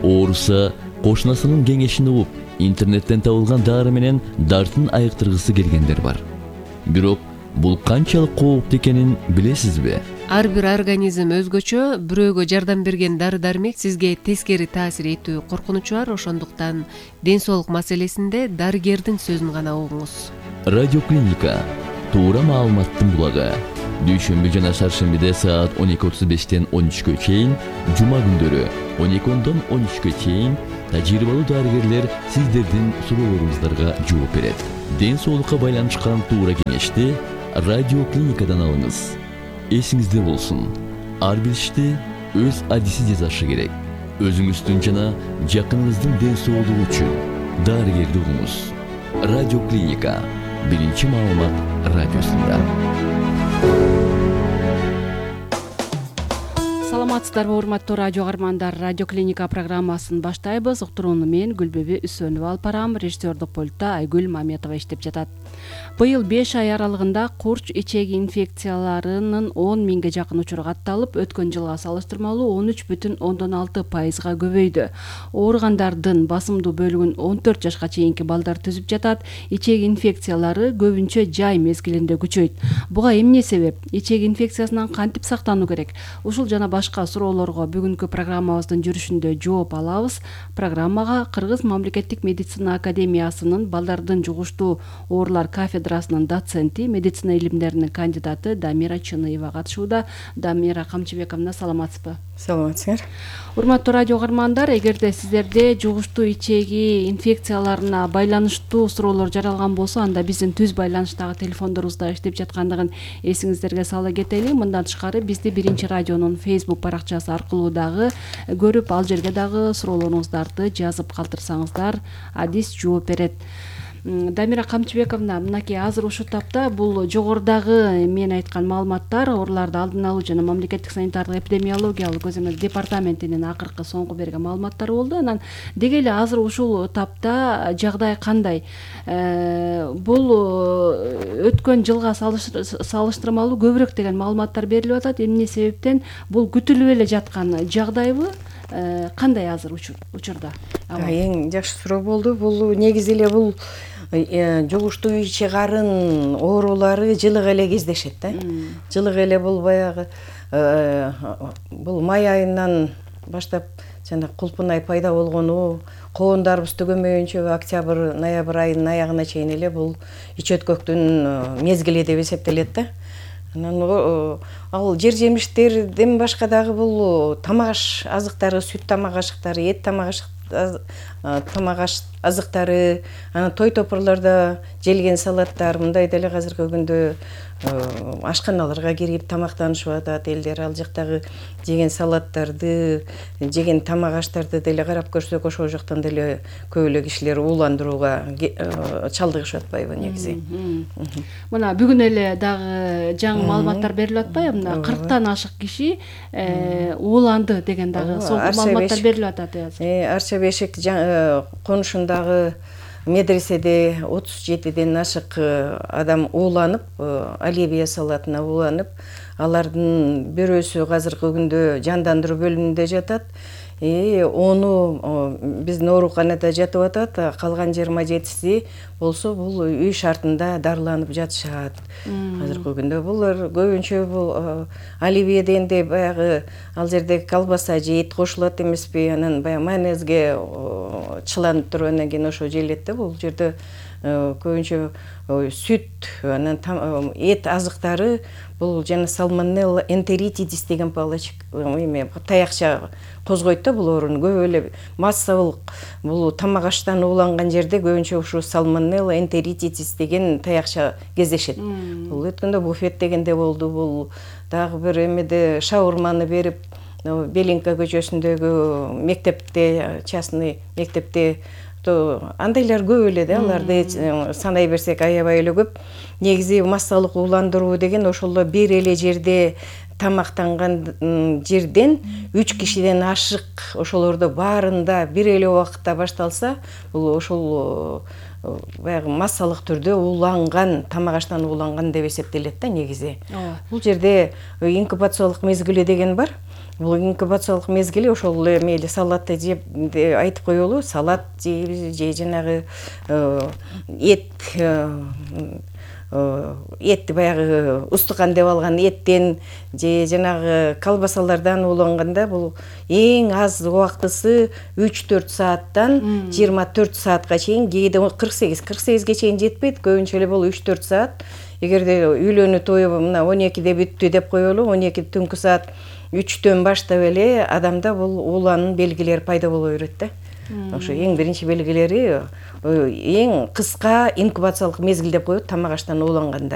ооруса кошунасынын кеңешин угуп, интернеттен табылган дары менен дартын айыктыргысы келгендер бар. Бирок бул канчалык кооптуу экенин билесизби? Ар бир организм өзгөчө, бирөөгө жардам берген дары-дармек сизге тескери таасир этүү коркунучу бар, ошондуктан ден соолук маселесинде дарыгердин сөзүн гана угуңуз. Радиоклиника туура маалыматтын булагы. Дүйшөмбү жана шаршембиде саат 12:35 13-кө чейин, жума күндөрү 12-дон 13-кө чейин тажрыйбалуу дарыгерлер сиздердин суроолоруңуздарга жооп берет. Ден соолукка байланышкан туура кеңешти радиоклиникадан алыңыз. Эсиңизде болсун, ар бир ишти өз адиси жасашы керек. Өзүңүздүн жана жакыныңыздын ден соолугу үчүн дарыгерди угуңуз. Радиоклиника биринчи маалымат радиосунда. Саламатсыздарбы, урматтуу радио каармандар. Радиоклиника программасын баштайбыз. Уктурууну мен Гүлбеби Үсөнова алып барам. Режиссердик пультта Айгүл Маметова иштеп жатат. Быйыл 5 ай аралыгында курч ичеги инфекцияларынын 10 миңге жакын учуру катталып, өткөн жылга салыштырмалуу 13,6%га көбөйдү. Ооругандардын басымдуу бөлүгүн 14 жашка чейинки балдар түзүп жатат. Ичеги инфекциялары көбүнчө жай мезгилинде күчөйт. Буга эмне себеп? Ичеги инфекциясынан кантип сактануу керек? Ушул жана башка суроолорго бүгүнкү программабыздын жүрүшүндө жооп алабыз. Программага Кыргыз мамлекеттик медицина академиясынын балдардын жугуштуу оорулар кафедрасынын доценти, медицина илимдеринин кандидаты Дамира Чыныева катышууда. Дамира Камчыбековна, саламатсызбы? Саламатсыңар. Урматтуу радио каармандар, эгерде сиздерде жугуштуу ичеги инфекцияларына байланыштуу суроолор жаралган болсо, анда биздин түз байланыштагы телефондорубузда иштеп жаткандыгын эсиңиздерге сала кетели. Мындан тышкары бизди Биринчи радионун Facebook баракчасы аркылуу дагы көрүп, ал жерге дагы суроолоруңуздарды жазып калтырсаңыздар, адис жооп берет. Дамира Камчыбековна, мынакей азыр ушул тапта бул жогорудагы мен айткан маалыматтар ооруларды алдын алуу жана мамлекеттик санитардык эпидемиологиялык көзөмөл департаментинин акыркы соңку берген маалыматтары болду. Анан деги эле азыр ушул тапта жагдай кандай? Бул өткөн жылга салыштырмалуу көбүрөөк деген маалыматтар берилип атат. Эмне себептен бул күтүлүп эле жаткан жагдайбы? Кандай азыр учурда? Эң жакшы суроо болду. Бул негизи эле бул жугуштуу ичи карын оорулары жылык эле кездешет да. Жылык эле бул баягы бул май айынан баштап жана кулпун ай пайда болгону, коондарыбыз түгөмөйүнчө октябрь, ноябрь айынын аягына чейин эле бул ич өткөктүн мезгили деп эсептелет да. Анан ал жер жемиштерден башка дагы бул тамак аш азыктары, сүт тамак ашыктары, эт тамак азыктары, анан той топурларда желген салаттар, мындай деле азыркы күндө ашканаларга кирип тамактанышып атат элдер. Ал жактагы жеген салаттарды, жеген тамак аштарды деле карап көрсөк, ошол жактан деле көп эле кишилер ууландырууга чалдыгышып атпайбы негизи. Мына бүгүн эле дагы жаңы маалыматтар берилип атпайбы? Мына 40тан ашык киши ууланды деген дагы соңку маалыматтар берилип атат. Арча Бешик конушундагы медреседе 37ден ашык адам ууланып, аллергия салатына ууланып, алардын бирөөсү азыркы күндө жандандыруу бөлүмүндө жатат. Ону биздин ооруканада жатып атат. Калган 27си болсо бул үй шартында дарыланып жатышат. Азыркы күндө булар көбүнчө бул оливье дегенде баягы ал жерде колбаса же эт кошулат эмеспи, анан баягы майонезге чыланып туруп анан кийин ошо желет да. Бул жерде көбүнчө сүт, анан эт азыктары, бул жана салмонелла энтеритидис деген палочка таякча козгойт да бул ооруну. Көп эле массалык бул тамак аштан ууланган жерде көбүнчө ушу салмонелла энтеритидис деген таякча кездешет. Бул өткөндө буфет дегенде болду. Бул дагы бир эмеде шаурманы берип, Белинка көчөсүндөгү мектепте, частный мектепте андайлар көп эле да. Аларды санай берсек аябай эле көп. Негизи массалык ууландыруу деген ошол бир эле жерде тамактанган жерден 3 кишиден ашык ошолордо баарында бир эле убакытта башталса, бул ошол баягы массалык түрдө ууланган, тамак аштан ууланган деп эсептелет да негизи. Бул жерде инкубациялык мезгили деген бар. бул инкубациялык мезгили ошол мейли салатты жеп айтып коелу, салат жейбиз же жанагы этти баягы устукан деп алган эттен же жанагы колбасалардан ууланганда бул эң аз убактысы 3-4 сааттан 24 саатка чейин, кээде 48-ге чейин жетпейт, көбүнчө эле бул 3-4 саат. Эгерде үйлөнүү тою мына 12-де бүттү деп коелу, 12 түнкү саат 3-төн баштап эле адамда бул ууланын белгилери пайда боло берет да. Ошо эң биринчи белгилери эң кыска инкубациялык мезгил деп коет тамак аштан ууланганда.